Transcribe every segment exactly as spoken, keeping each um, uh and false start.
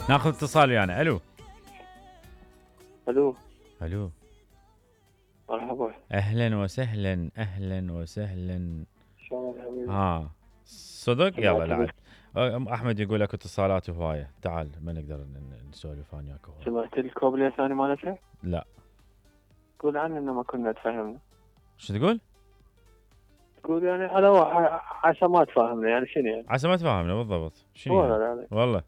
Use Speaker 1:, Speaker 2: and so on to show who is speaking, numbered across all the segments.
Speaker 1: ناخذ اتصال ويانا. الو
Speaker 2: الو
Speaker 1: الو
Speaker 2: مرحبا.
Speaker 1: اهلا وسهلا اهلا وسهلا.
Speaker 2: شلونك حبيبي؟
Speaker 1: ها صدق يلا
Speaker 2: سمعت
Speaker 1: لعد. احمد يقول لك اتصالات هوايه، تعال ما نقدر ن- نسولف انا وياك هوايه.
Speaker 2: سمعت الكوبليه الثاني مالتها؟
Speaker 1: لا
Speaker 2: تقول عنه انه ما كنا تفهمنا.
Speaker 1: شو تقول؟
Speaker 2: تقول يعني على وا- عسى ما تفهمنا، يعني شنو يعني؟
Speaker 1: عسى ما تفهمنا بالضبط. شنو
Speaker 2: والله
Speaker 1: يعني؟
Speaker 2: لا لا.
Speaker 1: والله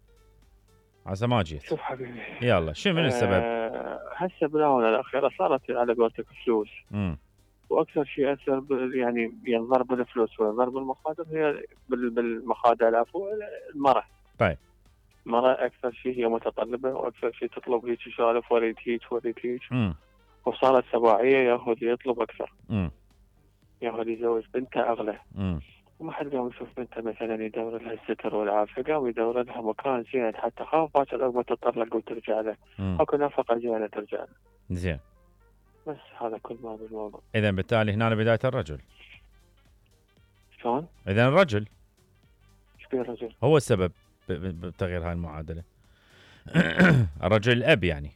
Speaker 1: عسى ما جيت.
Speaker 2: شوف حبيبي،
Speaker 1: يلا شو من السبب؟
Speaker 2: أه هسه بالاونه الاخيره صارت على قولتك فلوس،
Speaker 1: امم
Speaker 2: واكثر شيء اثر ب- يعني يعني ضرب الفلوس وضرب المخاطر هي بال- بالمخادع العفو المراه.
Speaker 1: طيب
Speaker 2: المراه اكثر شيء هي متطلبه، واكثر شيء تطلب هيك سوالف، وريد هيك وريد هيك،
Speaker 1: امم
Speaker 2: وصارت سباعيه، ياخذ يطلب اكثر،
Speaker 1: امم
Speaker 2: ياخذ يزوج بنته اغلى.
Speaker 1: امم
Speaker 2: وما حد قام يشوف بنته مثلا يدور لها الستر والعافيه، قام يدور لها مكان زين حتى خاف باكر عقب ما تطلق وترجع له،
Speaker 1: امم
Speaker 2: اكو نفقه زينه ترجع له.
Speaker 1: زين.
Speaker 2: بس هذا كل ما بالموضوع.
Speaker 1: اذا بالتالي هنا بدايه الرجل.
Speaker 2: شلون؟
Speaker 1: اذا الرجل
Speaker 2: ايش بيه الرجل؟
Speaker 1: هو السبب ب- ب- بتغيير هاي المعادله. الرجل الاب يعني.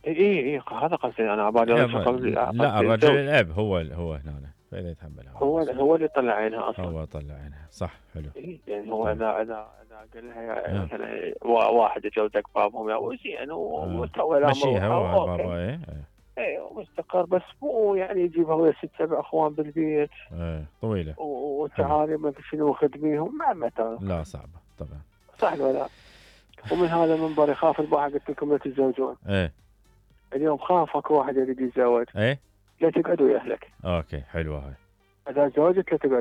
Speaker 2: اي اي اي هذا قصدي انا، عبالي
Speaker 1: الر-
Speaker 2: قصدي
Speaker 1: لا
Speaker 2: قصدي
Speaker 1: الرجل
Speaker 2: الزوج.
Speaker 1: الاب هو هو هنا، فاذا يتحمل هذا
Speaker 2: هو
Speaker 1: المسؤولية.
Speaker 2: هو اللي طلع عينها اصلا.
Speaker 1: هو طلع عينها صح. حلو.
Speaker 2: إيه يعني هو
Speaker 1: طيب.
Speaker 2: اذا اذا اذا قال لها
Speaker 1: آه.
Speaker 2: مثلا وا- واحد يجوزك بابهم يا وزين
Speaker 1: آه.
Speaker 2: ومستوى الامر
Speaker 1: مشيها هو
Speaker 2: اوكي
Speaker 1: بابا. ايه ايه
Speaker 2: اي مستقر، بس مو يعني يجيبها ويا ست سبع اخوان بالبيت
Speaker 1: ايه طويله.
Speaker 2: وتعالي ما ادري شنو خدميهم، ما متى.
Speaker 1: لا صعبه طبعا.
Speaker 2: صح ولا؟ ومن هذا المنبر يخاف الباحة، قلت لكم لا تتزوجون.
Speaker 1: ايه
Speaker 2: اليوم خاف اكو واحد يريد يتزوج،
Speaker 1: ايه
Speaker 2: لا تقعد ويا اهلك.
Speaker 1: اوكي حلوه هاي.
Speaker 2: اذا تزوجت لا تقعد